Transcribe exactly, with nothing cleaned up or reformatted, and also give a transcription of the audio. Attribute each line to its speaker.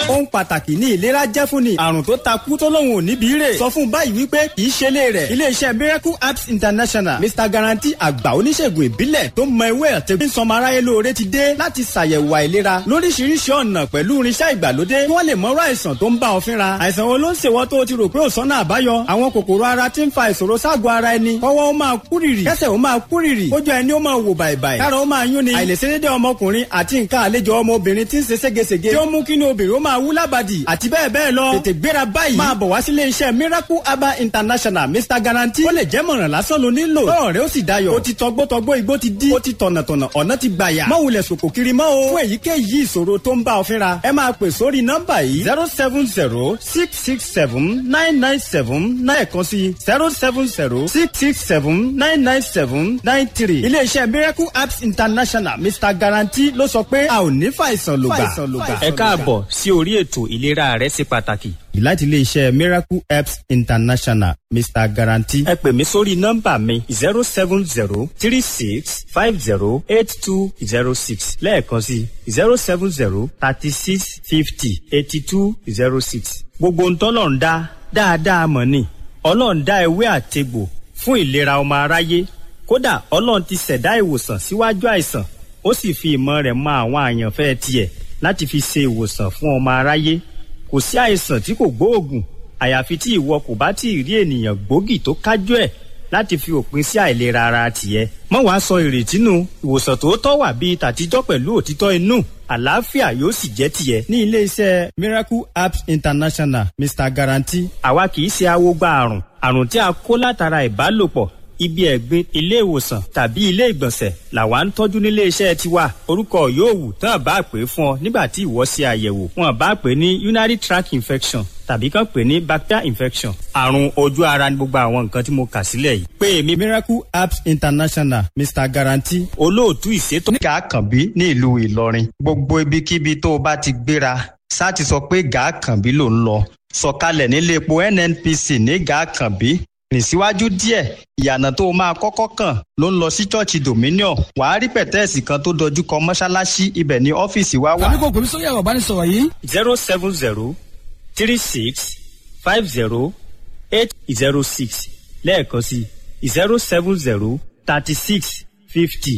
Speaker 1: Ohun pàtàkì ní ìlera jẹ́ fún ni. Àrùn tó takú tó lóun ò níbi rè. Sọ fún báyìí wípé kì í ṣe lé rẹ̀. Iléeṣẹ́ Miracle Apps International, Mister Guarantee, àgbà oníṣègùn ìbílẹ̀ tó mọ ewé àti ń sọmọ aráyé lóore, ti dé láti ṣàyẹ̀wò àìlera lóríṣiríṣi ọ̀nà pẹ̀lú irinṣẹ́ ìgbàlódé kí wọ́n lè mọ̀rọ̀ àìsàn tó ń bá ọ fínra. Àìsàn wo ló ń ṣèwọ́ tó o ti rò pé ò sọ́nà àbáyọ? Àwọn kòkòrò ara tí ń fa ìṣòro ságọ̀ ara ẹni, kọ́wọ́ ó máa kúrìrì, kẹ́sẹ̀ ó máa kúrìrì, kójú ẹni ó máa wò bàìbàì, kára ó máa yún ni, àìlèṣedédé ọmọkùnrin àti nǹkan àlejò ọmọbìnrin tí ń ṣe ségesège, tí ó mú kí ni obìnrin ó máa wú lábàdì àti bẹ́ẹ̀ bẹ́ẹ̀ lọ. Tètè gbéra báyìí, máa bọ̀ wá sílé iṣẹ́ Miracle Herbal International, Mister Guarantee. Ó lè jẹ́ mọ̀ràn lásán ló nílò tọ́rọ̀ rẹ ó sì dayọ̀. Ó ti tọgbọ́tọgbọ́, igbó ti dí, ó ti tọ̀nàtọ̀nà, ọ̀nà ti gbàyà. Má wulẹ̀ sòkò kiri mọ́ o. Fún èyíkéyìí ìṣòro tó ń bá ọ fínra, ẹ máa pè sórí nọ́mbà yìí: zero seven zero six six seven nine nine seven nine kan sí zero seven zero six six seven nine nine seven nine three. Iléeṣẹ́ Miracle Apps International, Mister Guarantee ló sọ pé a ò ní fàìsàn lògbà.
Speaker 2: Ẹ káàbọ̀ sí orí ètò Ìlera rẹ ṣe pàtàkì.
Speaker 1: Láti iléeṣẹ́ Miracle Apps International, Mister Guarantee.
Speaker 2: Ẹ pè mí sórí nọ́mbà mi zero seven zero three six five zero eight two zero six, lẹ́ẹ̀kan sí zero seven zero thirty six fifty eighty two zero six. Gbogbo ń tọ́lọ̀ ń dá dáadáa mọ̀ ni. Ọlọ́run dá ewé àtegbò fún ìlera ọmọ aráyé. Kódà Ọlọ́run ti ṣẹ̀dá ìwòsàn síwájú àìsàn, ó sì fi ìmọ̀ rẹ̀ mọ àwọn àyànfẹ́ tiẹ̀ láti fi ṣe ìwòsàn fún ọmọ aráyé. Kò sí àìsàn tí kò gbóògùn, àyàfi tí ìwọ kò bá tí ì rí ènìyàn gbòógì tó kájú ẹ̀ láti fi òpin sí àìlera ara tiẹ̀. Mọ́ wàá sọ ìrètí nù. Ìwòsàn tòótọ́ wà bíi tàtijọ́ pẹ̀lú òtítọ́ inú, àlàáfíà yóò sì jẹ́ tiẹ̀.
Speaker 1: Ní iléeṣẹ́ Miracle Apps International, Mister Guarantee.
Speaker 2: Àwa kì í ṣe awogba àrùn. Àrùn tí a kó látara ìbálòpọ̀, ibi ẹ̀gbin, ilé ìwòsàn tàbí ilé ìgbọ̀nsẹ̀ làwa ń tọ́jú nílé iṣẹ́ tiwa. Orúkọ yóò wù tán bá pè é fún ọ nígbà tí ìwọ ṣe àyẹ̀wò, wọn bá pè é ní urinary tract infection tàbí kàn pè ní bacterial infection, àrùn ojú ara ní gbogbo àwọn nǹkan tí mo kà sílẹ̀ yìí.
Speaker 1: Pé èmi Miracle Apps International, Mister Guarantee.
Speaker 2: Olóòtú ìṣètò.
Speaker 3: Ní Gàákànbí ní ìlú Ìlọrin, gbogbo ibikíbi tó o bá ti gbéra, sá ti sọ pé Gàákànbí ló ń lọ, sọ̀kalẹ̀ nílé epo N N P C ní Gàákànbí, rìn síwájú díẹ̀, ìyànà tó máa kọ́kọ́ kàn ló ń lọ sí ṣọ́ọ̀ṣì Dominion. Wàá rí pẹ̀tẹ́ẹ̀sì kan tó dojú kọ mọ́ṣáláṣí, ibẹ̀ ní ọ́fíìsì wa wà.
Speaker 4: Tàbí kò pèmí sórí ẹ̀rọ ìbánisọ̀rọ̀ yìí.
Speaker 2: zero seven zero three six five zero eight zero six, lẹ́ẹ̀kan sí zero seven zero thirty six fifty